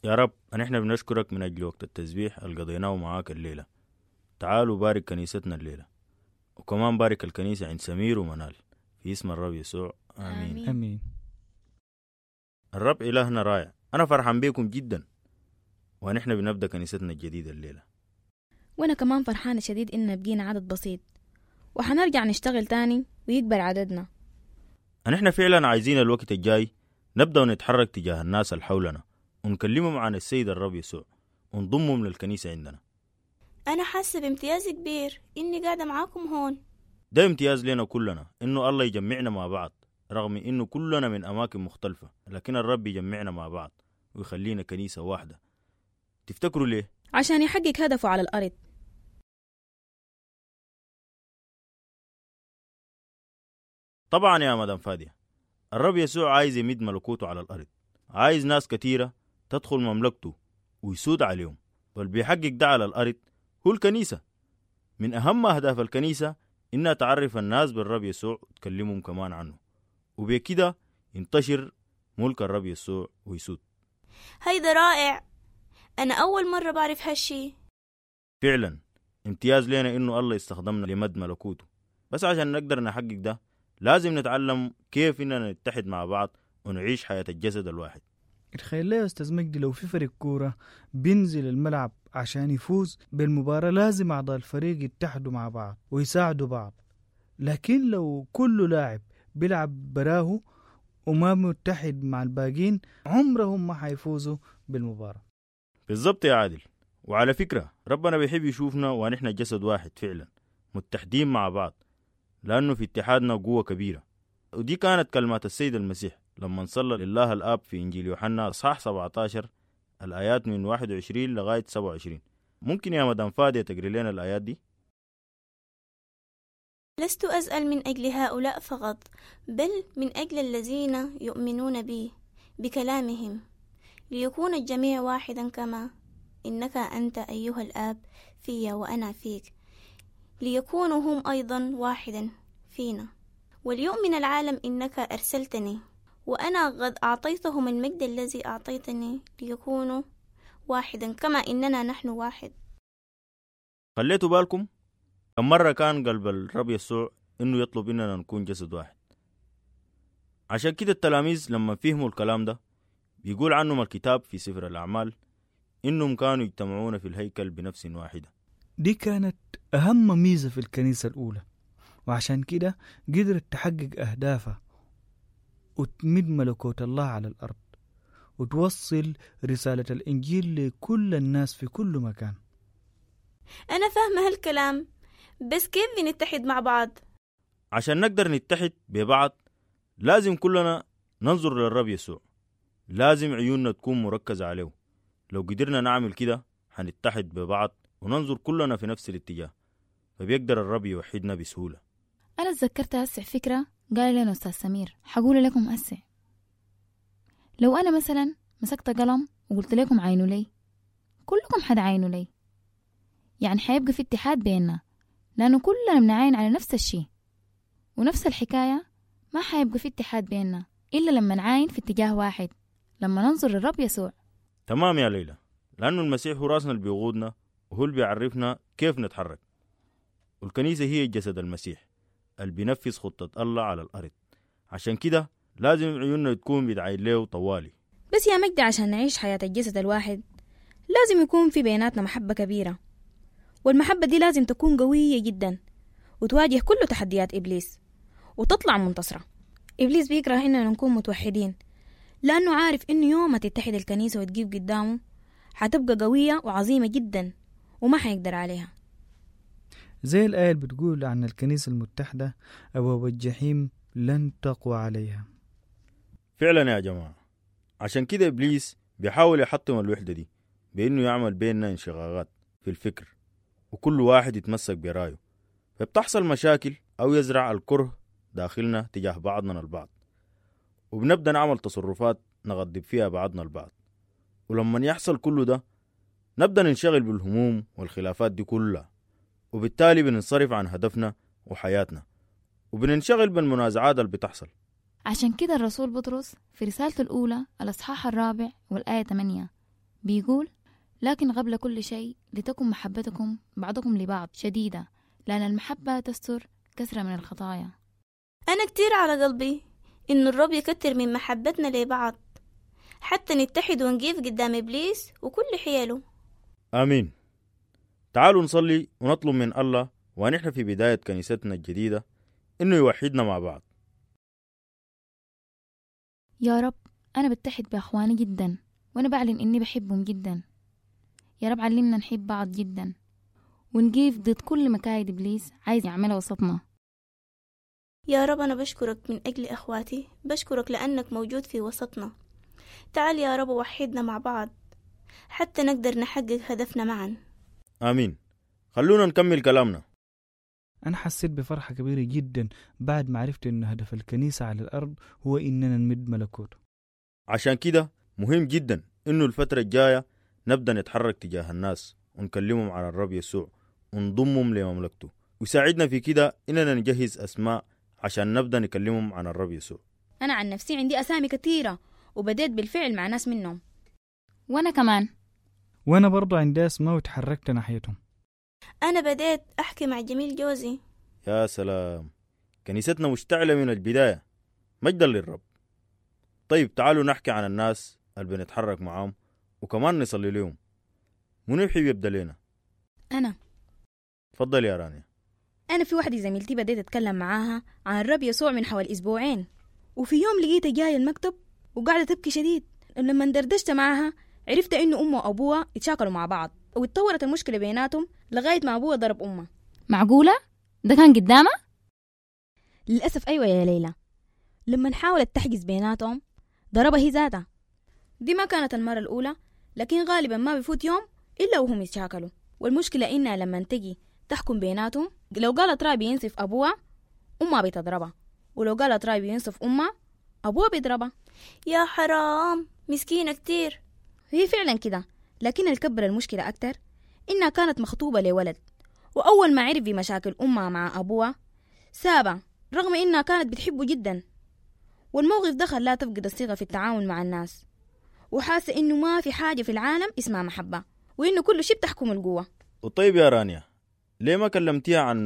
يا رب، نحن بنشكرك من أجل وقت التسبيح اللي قضيناه معاك الليلة. تعالوا بارك كنيستنا الليلة، وكمان بارك الكنيسة عند سمير ومنال، في اسم الرب يسوع، آمين. آمين. آمين. الرب إلهنا رائع. أنا فرحان بيكم جدا ونحن بنبدأ كنيستنا الجديدة الليلة. وأنا كمان فرحانة شديد إننا بقينا عدد بسيط، وحنرجع نشتغل تاني ويكبر عددنا. نحن فعلا عايزين الوقت الجاي نبدأ ونتحرك تجاه الناس اللي حولنا ونكلمهم عن السيد الرب يسوع ونضمهم للكنيسة عندنا. أنا حاسة بامتياز كبير إني قاعدة معاكم هون. ده امتياز لنا كلنا إنه الله يجمعنا مع بعض، رغم إنه كلنا من أماكن مختلفة، لكن الرب يجمعنا مع بعض ويخلينا كنيسة واحدة. تفتكروا ليه؟ عشان يحقق هدفه على الأرض. طبعا يا مدام فادية، الرب يسوع عايز يمد ملكوته على الأرض، عايز ناس كتيرة تدخل مملكته ويسود عليهم، واللي بيحقق ده على الأرض هو الكنيسة. من أهم أهداف الكنيسة إنها تعرف الناس بالرب يسوع وتكلمهم كمان عنه، وبكده ينتشر ملك الرب يسوع ويسود. هيدا رائع، أنا أول مرة بعرف هالشي. فعلا امتياز لنا إنه الله يستخدمنا لمد ملكوته، بس عشان نقدر نحقق ده لازم نتعلم كيف إننا نتحد مع بعض ونعيش حياة الجسد الواحد. تخيل لي يا أستاذ مجدي، لو في فريق كورة بينزل الملعب عشان يفوز بالمباراة لازم أعضاء الفريق يتحدوا مع بعض ويساعدوا بعض، لكن لو كل لاعب بيلعب براه وما متحد مع الباقين عمرهم ما حيفوزوا بالمباراة. بالضبط يا عادل. وعلى فكرة ربنا بيحب يشوفنا ونحن جسد واحد فعلا متحدين مع بعض، لأنه في اتحادنا قوة كبيرة. ودي كانت كلمات السيد المسيح لما صلى لله الآب في إنجيل يوحنا إصحاح 17 الآيات من 21 لغاية 27. ممكن يا مدام فادية تقري لنا الآيات دي؟ لست أسأل من أجل هؤلاء فقط، بل من أجل الذين يؤمنون بي بكلامهم، ليكون الجميع واحدا كما إنك أنت أيها الآب في وأنا فيك، ليكونوا هم أيضا واحدا فينا، وليؤمن العالم إنك أرسلتني، وأنا قد أعطيتهم المجد الذي أعطيتني ليكونوا واحدا كما إننا نحن واحد. خليتوا بالكم كم مرة كان قلب الرب يسوع إنه يطلب إننا نكون جسد واحد. عشان كده التلاميذ لما فهموا الكلام ده بيقول عنهم الكتاب في سفر الأعمال إنهم كانوا يجتمعون في الهيكل بنفس واحدة. دي كانت أهم ميزة في الكنيسة الأولى، وعشان كده قدرت تحقق أهدافها وتمد ملكوت الله على الأرض وتوصل رسالة الإنجيل لكل الناس في كل مكان. أنا فاهمة هالكلام، بس كيف بنتحد مع بعض؟ عشان نقدر نتحد ببعض لازم كلنا ننظر للرب يسوع، لازم عيوننا تكون مركزة عليه. لو قدرنا نعمل كده هنتحد ببعض وننظر كلنا في نفس الاتجاه، فبيقدر الرب يوحدنا بسهولة. أنا تذكرت هسع فكرة قال لنا أستاذ سمير، حقول لكم هسع. لو أنا مثلا مسكت قلم وقلت لكم عينوا لي، كلكم حتعاينوا لي، يعني حيبقى في اتحاد بيننا، لأنه كلنا بنعاين على نفس الشيء. ونفس الحكاية ما حيبقى في اتحاد بيننا إلا لما نعاين في اتجاه واحد، لما ننظر للرب يسوع. تمام يا ليلى، لأنه المسيح هو راسنا اللي بيقودنا وهو اللي بيعرفنا كيف نتحرك. والكنيسة هي جسد المسيح اللي بينفذ خطة الله على الأرض، عشان كده لازم عيوننا تكون بتعاين له طوالي. بس يا مجدي، عشان نعيش حياة الجسد الواحد لازم يكون في بيناتنا محبة كبيرة، والمحبة دي لازم تكون قوية جدا وتواجه كل تحديات إبليس وتطلع منتصرة. إبليس بيكره إننا نكون متوحدين، لأنه عارف إنه يوم ما تتحد الكنيسة وتجيب قدامه حتبقى قوية وعظيمة جدا وما حيقدر عليها. زي الآية اللي بتقول عن الكنيسة المتحدة، أبواب الجحيم لن تقوى عليها. فعلا يا جماعة، عشان كده إبليس بيحاول يحطم الوحدة دي بإنه يعمل بيننا انشقاقات في الفكر، وكل واحد يتمسك برايه، فبتحصل مشاكل أو يزرع الكره داخلنا تجاه بعضنا البعض، وبنبدأ نعمل تصرفات نغضب فيها بعضنا البعض. ولما يحصل كل ده نبدأ ننشغل بالهموم والخلافات دي كلها، وبالتالي بننصرف عن هدفنا وحياتنا، وبننشغل بالمنازعات اللي بتحصل. عشان كده الرسول بطرس في رسالته الأولى الأصحاح 4 والآية 8 بيقول: لكن قبل كل شيء لتكن محبتكم بعضكم لبعض شديدة، لأن المحبة تستر كثرة من الخطايا. أنا كتير على قلبي إنه الرب يكتر من محبتنا لبعض حتى نتحد ونقف قدام إبليس وكل حيله. آمين. تعالوا نصلي ونطلب من الله ونحن في بداية كنيستنا الجديدة إنه يوحدنا مع بعض. يا رب، أنا بتحد بأخواني جدا، وأنا بعلن إني بحبهم جدا. يا رب علمنا نحب بعض جدا ونقيف ضد كل مكايد إبليس عايز يعملها وسطنا. يا رب أنا بشكرك من أجل أخواتي، بشكرك لأنك موجود في وسطنا. تعال يا رب وحدنا مع بعض حتى نقدر نحقق هدفنا معا. آمين. خلونا نكمل كلامنا. أنا حسيت بفرحة كبيرة جدا بعد ما عرفت إن هدف الكنيسة على الأرض هو إننا نمد ملكوته. عشان كده مهم جدا إنه الفترة الجاية نبدأ نتحرك تجاه الناس ونكلمهم عن الرب يسوع ونضمهم لمملكته، ويساعدنا في كده إننا نجهز أسماء عشان نبدأ نكلمهم عن الرب يسوع. أنا عن نفسي عندي أسامي كثيرة وبديت بالفعل مع ناس منهم. وأنا كمان. وأنا برضو عندي أسماء وتحركت ناحيتهم. أنا بديت أحكي مع جميل جوزي. يا سلام، كنيستنا مشتعلة من البداية، مجدا للرب. طيب تعالوا نحكي عن الناس اللي بنتحرك معاهم وكمان نصلي لهم. منو يحب يبدأ لنا؟ أنا. تفضل يا رانيا. أنا في واحدة زميلتي بديت أتكلم معاها عن الرب يسوع من حوالي أسبوعين، وفي يوم لقيتها جاية المكتب وقاعدة تبكي شديد. لما دردشت معاها عرفت إنه أمه وأبوها اتشاكلوا مع بعض واتطورت المشكلة بيناتهم لغاية ما أبوها ضرب أمه. معقولة؟ ده كان قدامها؟ للأسف أيوة يا ليلى، لما حاولت تحجز بيناتهم ضربها هي ذاتها. دي ما كانت المرة الأولى، لكن غالبا ما بيفوت يوم إلا وهم يتشاكلوا. والمشكلة إنها لما تجي تحكم بيناتهم لو قالت راي بينصف أبوها أمها بتضربها، ولو قالت راي بينصف أمها أبوها بيضربها. يا حرام، مسكينة كتير. هي فعلا كده، لكن الكبر المشكلة أكتر إنها كانت مخطوبة لولد، وأول ما عرف بمشاكل أمها مع أبوها سابها رغم إنها كانت بتحبه جدا. والموقف ده خلاها تفقد الثقة في التعاون مع الناس، وحاسة إنه ما في حاجة في العالم اسمها محبة، وإنه كل شيء بتحكم القوة. وطيب يا رانيا، ليه ما كلمتيها عن